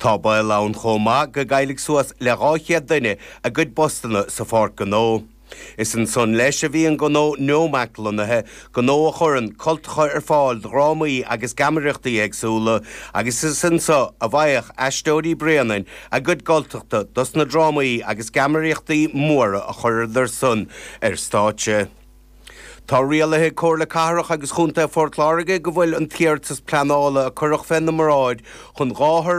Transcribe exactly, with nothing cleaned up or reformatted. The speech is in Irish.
Tá baol ann chomh maith go gcaillfidh suas le dhá chéad duine a gcuid postanna sa pháirc gnó. Is ansan leis a bhí an gnó Nomac lonnaithe, gnó a chuireann cultacha ar fáil do dhrámaí agus geamaireachtaí éagsúla, agus is anso a bhfaigheadh Aisteoirí Bréanainn a gcuid cultacha dos na drámaí agus geamaireachtaí móra a chuireadar san ar stáitse. Tá rialaithe ag Comhairle Cathrach agus Chontae Phort Láirge go bhfuil an t-iarratas pleanála a cuireadh féna mbráid chun dhá